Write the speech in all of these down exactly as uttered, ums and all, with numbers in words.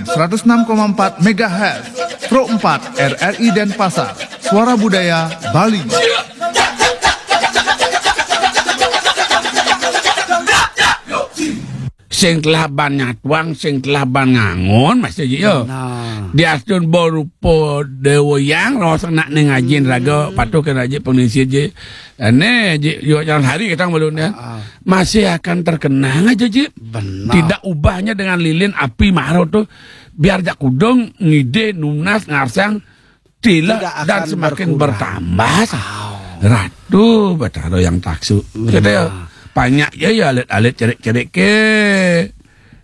seratus enam koma empat megahertz, Pro empat R R I Denpasar, Suara Budaya Bali. Sing telah ban nyatuang, sing telah ban ngangon, masih aja, yo. Nah. Diastun baru po dewa yang, ros anak ning ajin raga, patuh kena aja pengisi aja. Ane, ji, yo, jangan hari kita belum ya. Ah. Masih akan terkenang aja, ji. Benar. Tidak ubahnya dengan lilin api maro tuh. Biar jak kudung, ngide, nunas, ngarsang, tidak dan akan semakin berkurang. Bertambah. Au. Ratu Batara yang taksu. Benar. Kita ya, banyak ya, ya alit-alit cerik-cerik ke.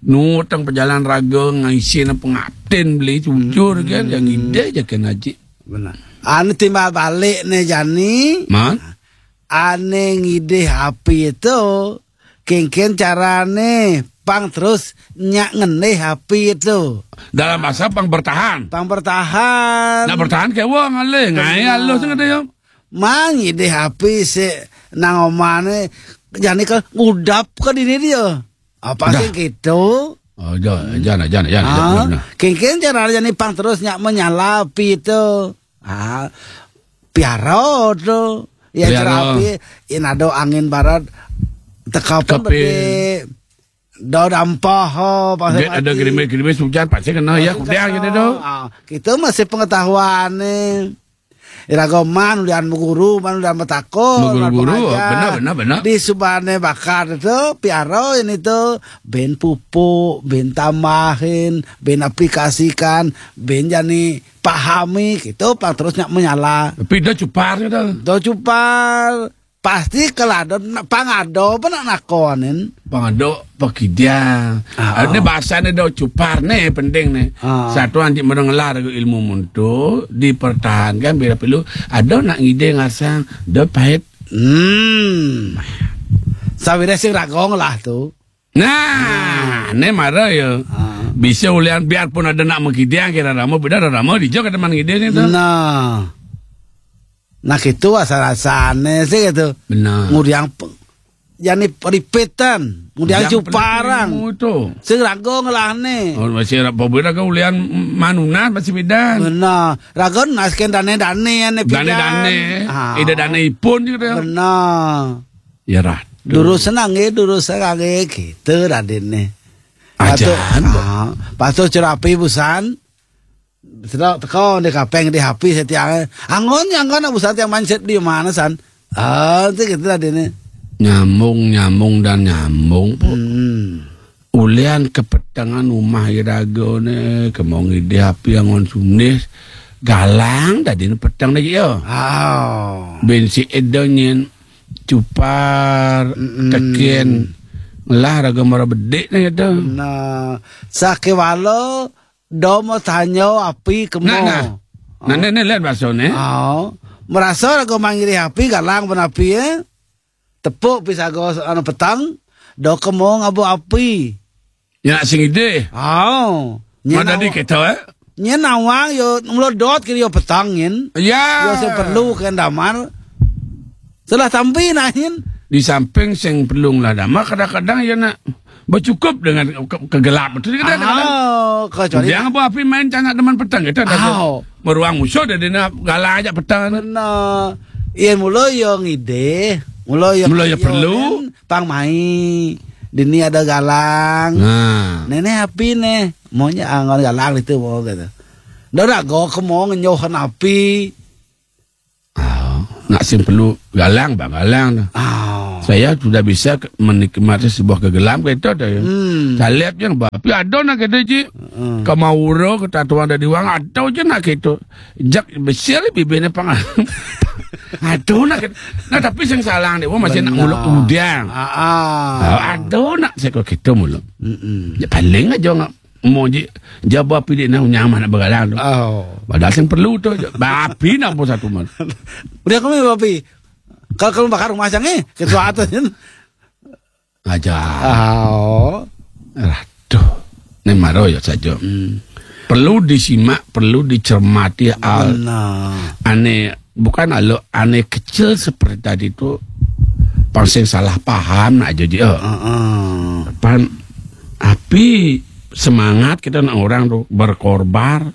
Nutang pejalan raga ngaisin pengatin beli jujur kan, yang ide aja kena, ji. Benar. Anu timbal balik nih, Jani. Man? Ane ngidih api itu, kengken carane pang terus nyak ngendih api itu. Dalam bahasa pang bertahan. Pang bertahan. Nak bertahan ke wong ale, ngai alus ngede yo. Mang ngidih api si nang omane jani ke ngudap ke dini dia. Apa sih gitu? Oh, jangan, jangan, jangan, jangan. Ah, jangan. Kengken carane jani pang terus nyak menyala api itu. Ah, piaro tu. Ya, piaro. Cerapi, in ada angin barat, tekapan. Tekapan. Beti, do dampah, ho, pasal. Get ada mati. Gerimis-gerimis hujan, pasti kena, ya, masih kudang kena. Gitu tu. Ah, kita masih pengetahuan ni. Iraga man ulian guru, man ulian betako, man guru-guru, pengajar. Benar, benar, benar. Di subane bakar tu, piaro ini tu, ben pupuk, ben tambahin, ben aplikasikan, ben jani pahami, gitu, pang terus nyak menyala. Tapi do cupar, gitu. Do cupar. Pasti kalau ada, pang ada apa nak nakonin? Pang ada pekidiang. Ah, ini bahasanya do cupar nih, penting nih. Ah. Satu anti mengelar ilmu muntu, dipertahankan, bila perlu, ada nak ngide ngasang, do pahit. Hmm. Sawire sing ragong lah tu. Nah, ne mara ya. Ah. Bisa ulian biarpun ada nak mengkidiang kira rama, beda rama dijo ke teman ngide ni tu. Nah. Nah, gitu asal-asalnya sih gitu. Benar. Ngudiang pe-, jani ripitan, ngudiang cuparang. Sing raga ngelahne. Oh, masih raga ulian manunan masih bidan. Benar. Raga nas ken dane-dane ane pidan. Dane-dane. Ah. Ida dane ipun gitu ya. Benar. Ya, rah. Durus senang ya, durus senang ya, gitu Raden nih. Ajan, patuh, ah, patuh cerapi busan. Sedok teko di kapeng di hapi setiang. Angon, angon, busan tiang mancet di mana, san? Ah, itu gitu Raden nih. Nyambung, nyambung, dan nyambung, Pok. Hmm. Ulian kepetengan umah iraga ne, kemong ide api angon sunis, galang tadi ne peteng lagi ya. Oh. Bensi edo nyen cupar, mm-mm, teken, lah raga mara bedik ne gitu. Nah, sakewala domo tanyo api kemo. Nah, nah. Nah, oh, ne, ne, lihat bakso ne. Oh. Merasa raga mangiri api, galang ben api, eh. Tepuk pisago anu petang, do kemo ngabo api. Ya, nak sing ide. Oh. Mana di kita, eh? Nyen nawang yo melodot kiri yo petang nyen. Ya. Yo sing perlu ke damar. Salah tampi nah nyen. Di samping sing perlu lah damar, kadang-kadang ya nak bercukup dengan ke-, kegelap. Betul kadang-kadang. Oh, kecuali dia apa api main canak teman petang kita ada. Oh. Meruang musuh dia, dia nak galak aja petang. Benar. Iya, mula yo ngide, mula yo, mula yo perlu. Kan, pang mai. Dini ada galang. Nah. Nenek api neh. Maunya angon galang itu mau gitu. Dah nak go ke mau ngenyohan api. Ah, nak sing perlu galang, bang galang dah. Ah. Saya sudah bisa ke-, menikmati sebuah kegelam kayak itu dah ya. Hmm. Saya lihat yang bapi ada nak kata ji. Hmm. Kemauro, ketatuan dari wang ada je nak kayak itu. Jak besar bibirnya pang. Aduh nak. Nah, tapi sing salah dia, wah, masih nak muluk udang. Ah, ah. Ah, aduh nak saya kok gitu muluk. Mm-mm. Ya paling aja nggak mau ji, jaba api dia nak nyaman nak begalang tu. Oh. Padahal sing perlu tu. Bapi nak pun satu mal. Udah kami bapi. Kalau, kalau bakar rumah jangan, eh, ketua atas kan. Aja. Oh. Aduh. Ini maro ya saja. Hmm. Perlu disimak, perlu dicermati al. Benar. Ane, bukan alo, ane kecil seperti tadi tu pang sing salah paham nak aja dia. Heeh. Pan api semangat kita nak orang tu berkorbar,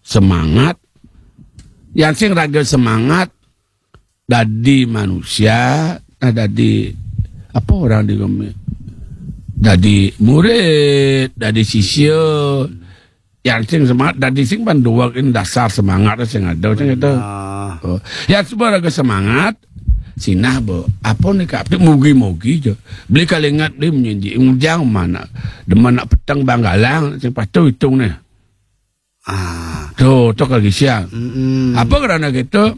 semangat. Yang sing raga semangat, dadi manusia, nah, dadi apa orang di, dadi murid, dadi sisya. Yang sing semangat, dadi sing panduak ini dasar semangat sing ada, sing ada. Oh. Yang semua raga semangat, sinah bo. Apa ni kak? Mugi-mugi je. Beli kalingat, beli menyanji. Ujang mana? Demen nak petang banggalang, sing patuh hitung ni. Ah. Tu, tu kalau gisian. Mm-mm. Apa kerana gitu?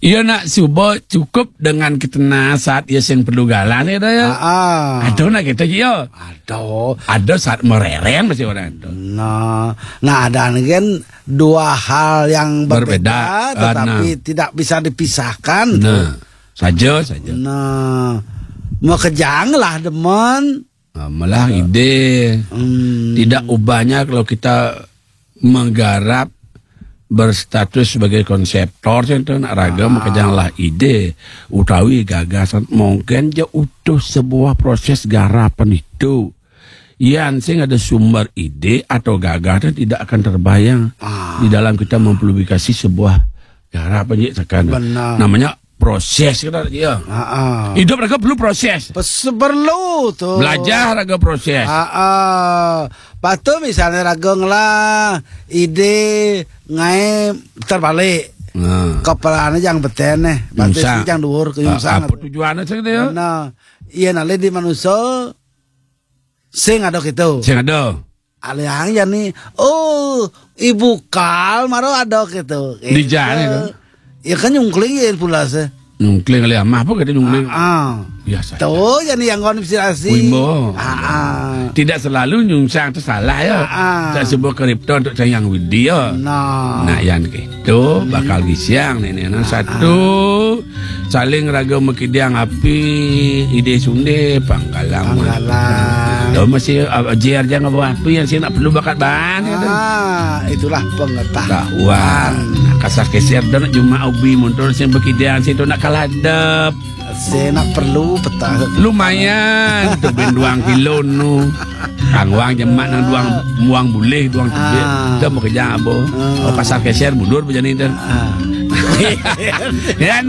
Ia nak suba cukup dengan kita saat ia sing perlu galan ya dah ya. Ah, ah. Ada nak kita je ya. Ada. Ada saat merereng masih orang tu. Nah, nah, ada kan dua hal yang berbeda, berbeda, tetapi nah, tidak bisa dipisahkan. Nah, saja, saja. Nah, makejang lah demen. Ah, malah ide. Hmm. Tidak ubahnya kalau kita menggarap berstatus sebagai konseptor, saya tu nak raga, ah, makejang lah ide utawi gagasan, mungkin je utuh sebuah proses garapan itu. Yang sing ada sumber ide atau gagasan tidak akan terbayang, ah, di dalam kita mempublikasi sebuah garapan je tekan. Benar. Namanya proses kita ya. Ha. Hidup raga perlu proses. Perlu tu. Belajar raga proses. Ha. Patu misalnya raga ngelah ide ngai terbalik. Ha. Kepala ni jang beten eh. Batis nyungsang. Jang duur ke nyungsang. Apa tujuan saya dia? Nah, iya nalih di manusia sing ada gitu. Sing ada. Alihang ya ni, oh, ibu kal maro ada gitu. Di jalan itu. Ya kan nyungkling ya pula se. Nyungkling alih amah apa kata nyungkling? Ah. Biasa. Tuh ya ni yang kau inspirasi. Wimbo. Ah, ah. Tidak selalu nyungsang tu salah ya. Ah, ah. Tak sebuah kripto untuk sayang widya. Nah. Nah, yang gitu bakal gisiang ni ni. Nah, satu, saling raga makidang api, ide sunde, pangkalang. Pangkalang. Dah masih, ah, J R jangan bawa api yang saya nak perlu bakat bahan ya, tu. Ah, itulah pengetahuan. Tahuan. Kasar keser dah nak cuma ubi mundur sing berkidang situ nak kaladep. Saya nak perlu petah. Lumayan tu ben duang kilo nu. Kang wang jemak nang duang muang bulih duang tebik. Ah. Dah mau kerja apa? Ah. Oh, kasar keser mundur bejani dah. Ah. Ya,